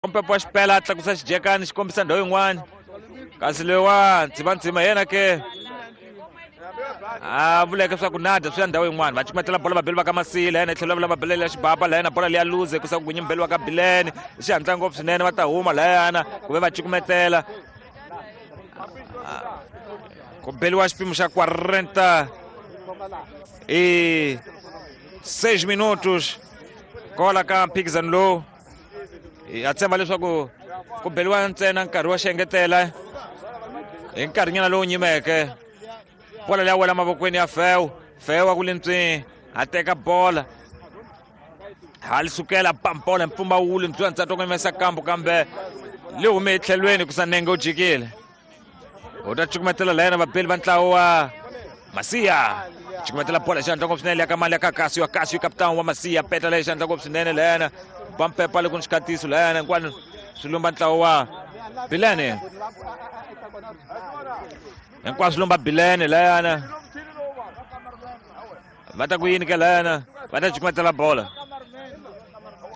Mpepo wa xipela a tlakusa xijekani xi kombisa ndhawu yin'wana, kasi loyiwa ndzimandzima yena ke a vuleke swa ku nada swi ya ndhawu yin'wana. Va cukumetela bola vabeli va ka Masila yena tlhelo va bela ya xibaba layena, bola leya luze ku sa ku nyimbeli wa ka Bilene hi xihatla ngopfu swinene. Va ta huma layana ku ve va cukumetela ku beliwa xipimo xa 46 minutos kola ka mphikizano lowu. Ha tshemba leswaku ku beliwa ntsena nkarhi wa xiengetela hi nkarhinyana lowu nyimeke. Bola leya wela mavokweni ya Fewu, Fewu a ku lintswini a teka bola ha sukela pampola mpfumawulo ndzwa ntsatwa ku yimesa kambu, kambe li hume etlhelweni ku sa nenge u jikile. U ta cukumetela la yena vabeli va ntlawa wa Masiya, cukumetela bola xandla ngopfu swinene ya ka mali ya ka Kasio, Kasio kapitani wa Masiya peta leyi xandla ngopfu swinene la yena ba mpepa le ku ni xikatiso la yena hinkwano swi lumba ntlawa wa Bilene, hinkwaswo swi lumba Bilene la yena. Va ta ku yini ke la yena, va ta cukumetela bola,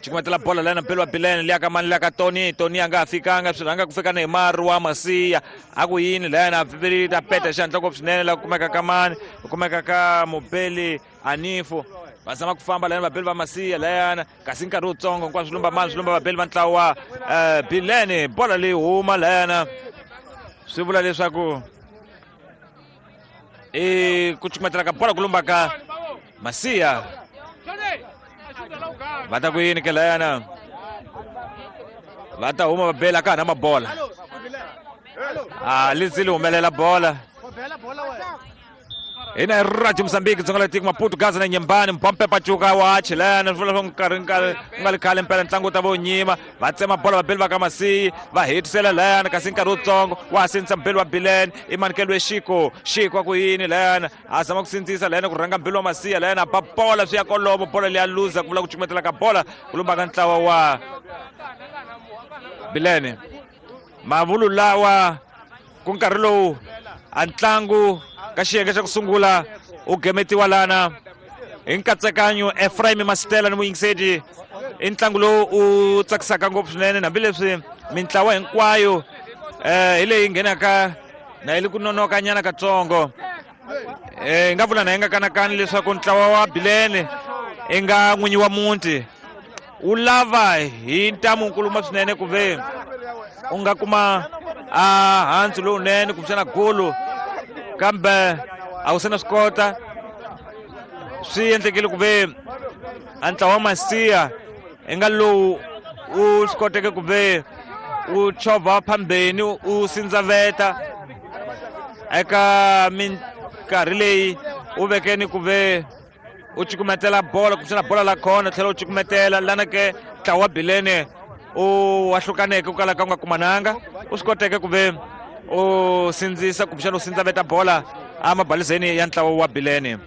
cukumetela bola lena mpelo wa Bilene liya ka mani liya ka Tony, Tony a nga ha fikanga swi rhanga ku fika Neymar wa Masiya a ku yini la yena ta peta xandla ngopfu swinene la ku kumeka ka mani ku kumeka ka Mubeli Anifu. Va zama ku famba la yena vabeli va Masiya la yena, kasi nkarhi wutsongo hinkwaswo swi lumba mani swi lumba vabeli va ntlawa wa Bilene. Bola leyi huma la yena swi vula leswaku i ku cukumetela ka bola ku lumba ka Masiya. Va ta ku yini ke layana, va ta huma va bela ka ha na mabola a li zili humelela bola. Hina hi Radio Mozambique dzonga la tiko Maputo Gaza na Nyembani Mpompe Pachuca wa Chilena swi vula swa nkarhi nkarhi ku nga li khale mpela ntlangu wu ta va wu nyima. Va tsema bola vabeli va ka Masiyi va hetisela layana, kasi nkarhi wutsongo wa ha sindzisa mbeli wa Bilene i Manikelo Xiko, Xiko a ku yini layana a zama ku sindzisa layana ku rhanga mbeli wa Masiya layana ba bola swi ya kolomo bola leya luza ku vula ku cukumetela ka bola ku lumba ka ntlawa wa Bilene. Mavulu lawa ku nkarhi lowu a ntlangu ka xiyenge xa ku sungula u gemetiwa lana hi nkatsakanyo Ephraim Masitela ni muyingiseti. I ntlangu lowu u tsakisaka ngopfu swinene hambileswi mintlawa hinkwayo hi leyi nghenaka na yi le ku nonoka nyana katsongo. Hi nga vula na hi nga kanakani leswaku ntlawa wa Bilene i nga n'winyi wa muti wu lava hi ntamu nkuluma swinene ku ve u nga kuma a handzu lowunene kumbexana golo, kambe a wu se na swi kota. Swi endlekile ku ve a ntlawa wa Masiya i nga lowu wu swi koteke ku ve wu chovha phambeni wu sindzaveta eka minkarhi leyi wu vekeni ku ve u cukumetela bola kumbexana bola la khona tlhela u cukumetela lana ke ntlawa wa Bilene u wahlukaneke ku kala ka u nga kumananga u swi koteke ku ve u sindzisa kumbexana u sindzaveta bola emabalizeni ya ntlawa wa Bilene.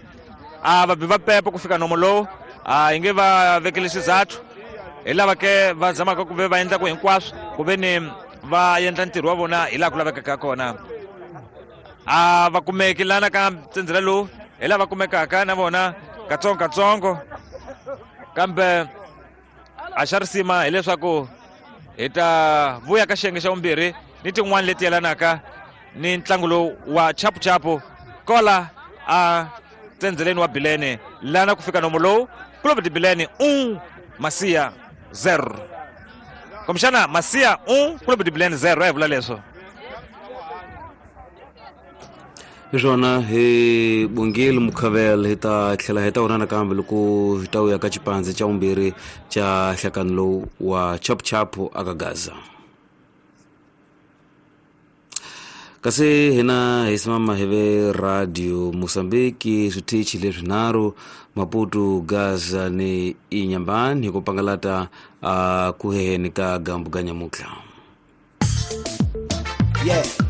A va bi va pepa ku fika nomo lowu a hi nge va vekele xizathu, hi lava ke va zamaka ku ve va endla ku hinkwaswo ku ve ni va endla ntirho wa vona hi laha ku lavekaka kona. A va kumeki lana ka ntsendzela lowu hi lava kumekaka na vona katsongo katsongo, kambe a xa risima hileswaku hi ta vuya ka xiyenge xa vumbirhi ni tin'wani leti yelanaka ni ntlangu lowu wa chapuchapu kola a tsendzeleni wa Bilene lana ku fika nomo lowu Clube de Bilene 1 Masiya 0, kumbexana Masiya 1 Clube de Bilene 0 a hi vula leswo. Hi swona hi bongile Mukhavel, hi ta tlhela hi ta vona nakambe loko hi ta vuya ka xipandzi xa vumbirhi xa nhlakano lowu wa chapuchapu aka Gaza. Kasi hina hi simama hi ve Radio Mozambique switichi leswinharhu Maputo, Gaza ni Inyambani hi ku pangalata a ku heheni ka gambu ga nyamutlha. Yeah.